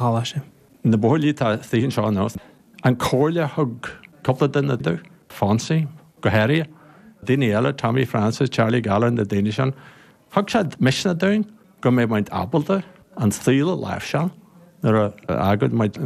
Choláiste. Na buachaillí atá istigh anseo anois, an comhairle a thug cúpla duine domh, Fonsie go háirithe, daoine eile, Tommy Francis, Charlie Gallagher, na daoine sin, thug siad misneach dúinn go mbeadh muid ábalta an saol a láimhseáil nuair a fhágann muid.